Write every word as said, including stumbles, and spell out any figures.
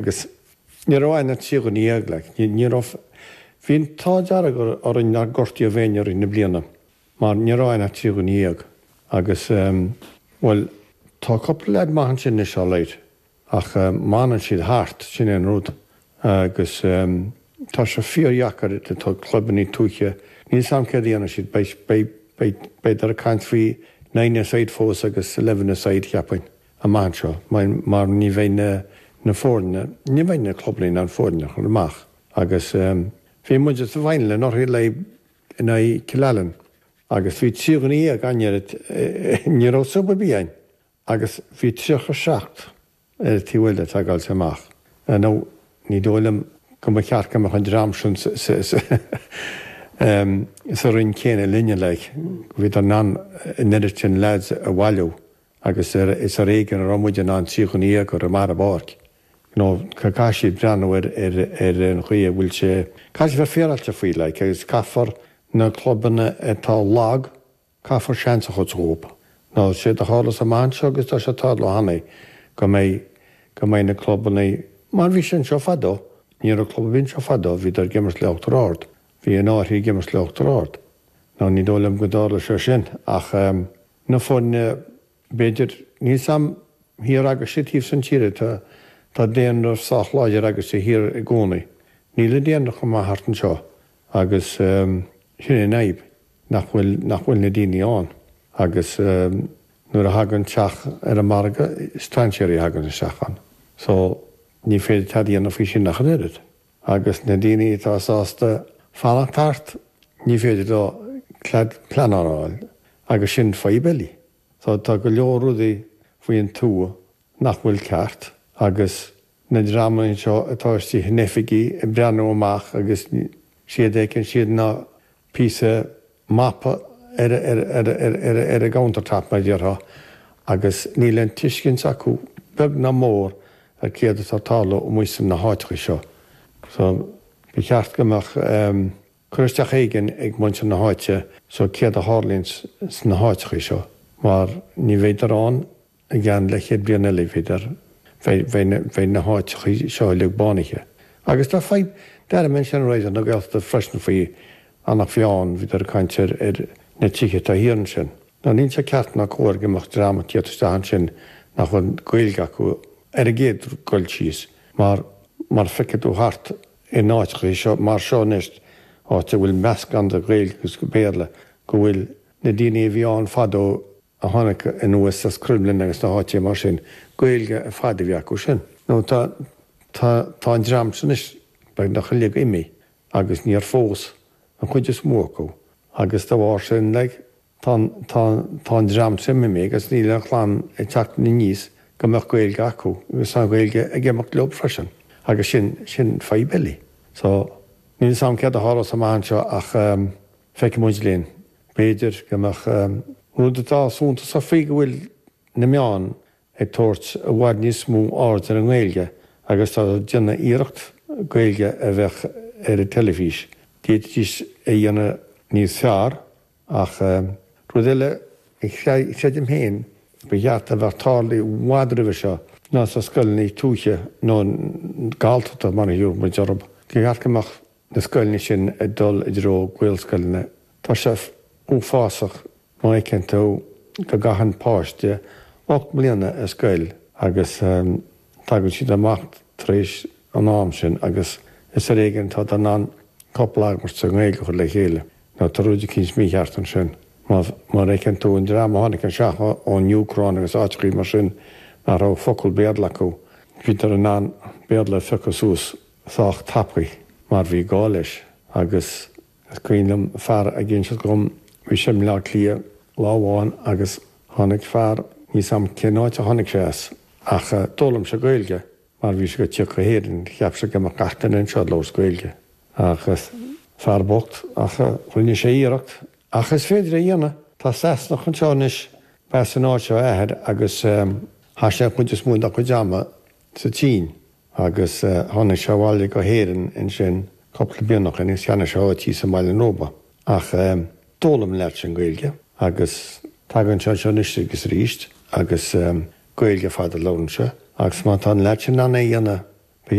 Agus ní raibh againn ach trí dhuine dhéag, like, ní raibh, bhí an t-ádh dearg orainn nár gortaíodh éinne i rith na bliana mar ní raibh againn ach trí dhuine dhéag. Agus, bhuel, tá cúpla leaid maith ansin anois alright ach má fhanann siad thart, sin é an rud. Agus tá sé fíordheacair, tá clubannaí tuaithe, níl 's a'm céard a dhéanfaidh siad, beidh, beidh, beidh, beidh ag caint faoi nine a side fós agus eleven a side cheapfainn amach anseo mar ní bheidh na, na foirne, ní bheidh na clubannaí in ann foirne a chur amach. Agus bhí muid sa bhfáinne anuraidh le in aghaidh Cill Ailín agus bhí trí dhuine dhéag againn, ní raibh sub ar bith againn agus bhí tríocha seacht ar an taobh eile ag teagáilt amach. Nó ní dóigh liom go mba cheart go mbeadh an dream sin sa roinn céanna linne, like. Bhíodar in ann an oiread sin lads a bhailiú agus is ar éigean a raibh muid in ann trí dhuine dhéag a chur amach ar an bpáirc. You know, caithfidh siad breathnú ar ar an chaoi a bhfuil sé, caithfidh siad bheith féaráilte faoi, like, agus caithfear na clubanna atá lag, caithfear seans a thabhairt dhóibh. Nó séard a tharlós amach anseo agus tá sé ag tarlú cheana, go mbeidh, go mbeidh na clubanna, mar bhí sé anseo fadó, ní raibh club ar bith anseo fadó, bhíodar ag imirt le Uachtar Ard, bhí an Fhairche ag imirt le Uachtar Ard. Nó ní dóigh liom go dtarlóidh sé sin ach na foirne, b'fhéidir, níl 's a'm thiar agaibhse taobh san tíre, tá, tá daonra sách láidir agaibhse thiar i gcónaí. Níl an daonra chomh maith thart anseo agus sin é an fhadhb, nach bhfuil, nach bhfuil na daoine ann agus nuair a thagann teach ar an margadh, strainséirí a thagann isteach ann. So ní féidir tada a dhéanamh faoi sin ach an oiread. Agus na daoine atá sásta fanacht thart, ní féidir leo cead pleanála a fháil agus sin fadhb eile. So tá go leor rudaí faoin tuath nach bhfuil ceart agus na dreamanna seo atá istigh in oifigí ag breathnú amach agus séard a fheiceann siad ná píosa mapa ar ar ar ar ar ar a gcountertop mar a déarfá agus níl aon tuiscint acu beag ná mór ar céard atá ag tarlú amuigh sna háiteacha seo. So ba cheart go mbeadh cur isteach éigin ag muintir na háite so céard a tharlaíonn sna háiteacha seo mar ní bheidar ann i gceann leathchéad bliain eile, b'fhéidir, bheidh na háiteacha seo uilig bánaithe. Agus tá fadhb, d'airigh mé ansin Raidió na Gaeltachta freisin faoi Eanach Mheáin, bhíodar ag caint ar ar na tithe atá thiar ansin. Now níl sé ceart ná cóir go mbeadh dream ag tíocht isteach ansin nach bhfuil Gaeilge acu ar an gcéad dul síos mar mar feicfidh tú thart in áiteacha seo mar seo anois, áit a bhfuil meascán de Ghaeilge agus Béarla, go bhfuil na daoine a bhí ann fadó a tháinig anuas as Cromghlinn agus na háiteacha mar sin, Gaeilge ar fad a bhí acu sin. Nó tá tá tá an dream sin anois beagnach uilig imithe agus níor phós an chuid is mó acu agus dá bharr sin like tá tá tá an dream sin imithe agus níl an chlann ag teacht aníos go mbeadh Gaeilge acu agus tá an Ghaeilge ag imeacht leo freisin agus sin sin fadhb eile. So níl 's a'm céard a tharlós amach anseo ach feicfidh muid linn. B'fhéidir go mbeadh rud atá suntasach faoi go bhfuil na meáin ag tabhairt i bhfad níos mó aird ar an nGaeilge agus tá ag déanamh iarracht Gaeilge a bheith ar an teilifís. D'fhéadfaidís é a dhéanamh níos fearr ach rud eile a chreidim féin ba cheart a bheith tarlaithe i bhfad roimhe seo ná sna scoileanna tuaithe nó Galltachta mar a thabharfadh muid orthu. Ba cheart go mbeadh na scoileanna sin ag dul i dtreo Gaelscoileanna. Tá sé uafásach má fheiceann tú go gcaitheann páiste ocht mbliana ar scoil agus tagann siad amach tar éis an am sin agus is ar éigean atá in ann cúpla abairt sa nGaeilge a chur le chéile. Nó tá rud eicínt mícheart ansin. Má má fheiceann tú an dream a tháinig anseo ón Úcráin agus áiteachaí mar sin nach raibh focal Béarla acu, bhíodar in ann Béarla a phiocadh suas sách tapaidh mar bhí gá leis agus is cuimhin liom fear ag inseacht dhom, bhí sé i mBleá Cliath lá amháin agus tháinig fear, níl 's a'm cén áit a tháinig sé as, ach d'fhoghlaim sé Gaeilge mar bhí sé ag tíocht go hÉirinn, cheap sé go mbeadh gach duine anseo ag labhairt Gaeilge. Agus fear bocht, ach rinne sé iarracht. Ach is féidir é a dhéanamh. Tá Sasanach anseo anois, b'as an áit seo a athair agus chaith sé an chuid is mó dá chuid ama sa tSín. Agus tháinig sé abhaile go hÉirinn ansin cúpla bliain ó shin agus cheannaigh sé áit thíos i mBaile an Róba. Ach d'fhoghlaim an leaid sin Gaeilge agus tagann sé anseo anois agus arís agus Gaeilge ar fad a labhrann sé. Agus má tá an leaid sin in ann é a dhéanamh,